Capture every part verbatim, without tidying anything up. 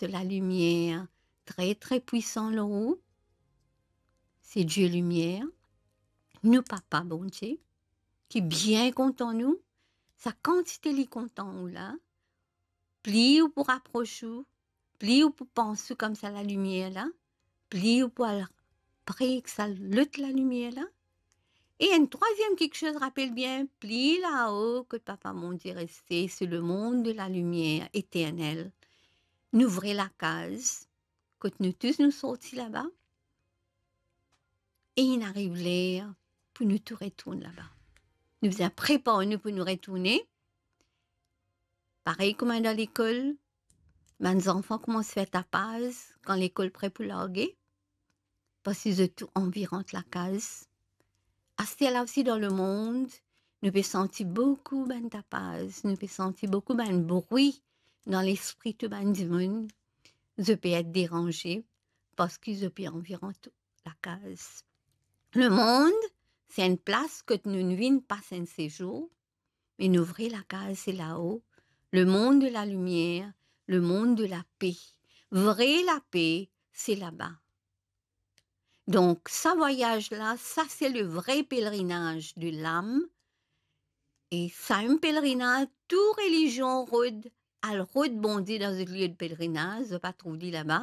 so lalimier tre, tre pwisan lor ou. Se Die Limier, nou Papa Bondie, ki bien kontan nou, sa kantite li kontan ou la, pli ou pou rapros ou, pli ou pou pans ou kouma sa lalimier la, pli ou pou al pre ek sa lot lalimier la. E enn trwaziem kiksoz, rapel bien, pli lao kot Papa Bondie reste, se lemond de lalimier eternel. Nou vre lakaz, kot nou tous nou sorti laba, e inn ariv ler pou nou tou retourn laba. Nou bizin prepar nou pou nou retourne. Parey kouma dan lekol, bann zanfan koumans fer tapaz kan lekol pre pou large, parski zot tou anvi rant lakaz. Aster la osi dan lemond, nou pe santi boukou bann tapaz, nou pe santi boukou bann bri dan lespri tou bann dimoun. Zot pe et deranze, parski zot pe anvi rant lakaz. Lemond, se enn plas kot nou vinn pas enn sezour, me nou vre lakaz se lao, lemond de lalimier, lemond de lape. Vre lape, se laba. Donk, sa vwayaz la, sa se le vre pelerinaz de lam. E sa enn pelerinaz, tou relizion rod, al rod Bondie dan zot lie de pelerinaz, zot pa trouv li laba,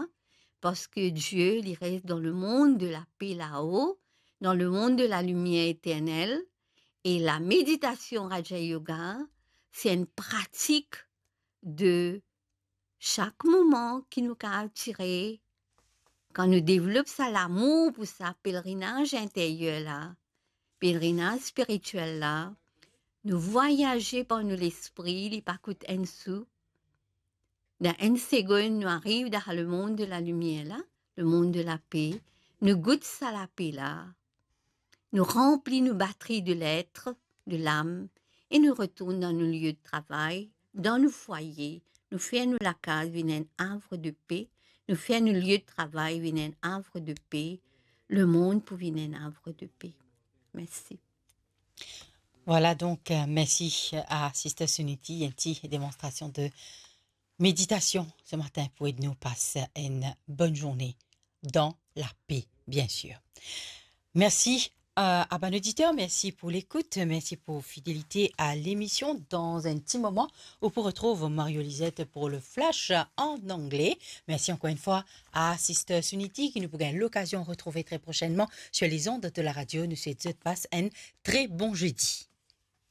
parski Die, li res dan lemond de lape lao, dan lemond de lalimier eternel. E lameditasion Raja Yoga, se enn pratik de sak moman ki nou kapav tire, kan nou devlop sa lamour pou sa pelerinaz interyer la, pelerinaz spiritiel la, nou vwayaze par nou lespri, li pa kout enn sou. Dan enn segonn, nou ariv dan lemond de lalimier la, lemond de lape, nou gout sa lape la, nou ranpli nou batri de letre, de lam, e nou retourn dan nou lie de travay, dan nou fwaye, nou fer nou lakaz vinn enn avr de pe, nou fer nou lie de travay vinn enn avr de pe, lemond pou vinn enn avr de pe. Mersi. Vwala, donk, euh, mersi a Sister Suniti, enn ti demonstrasion de meditasion se matin pou ed nou pas enn bonn zourne dan lape, biensir. Mersi, euh, a bann oditer, mersi pou lekout, mersi pou fidelite a lemision. Dan enn ti moman, ou pou retrouv Mario Lisette pou le flash an angle. Mersi ankor enn fwa a Sister Suniti, ki nou pou gagn lokazion retrouve tre prosennman sur les ondes de la radio. Nou swet zot pas enn tre bon zedi.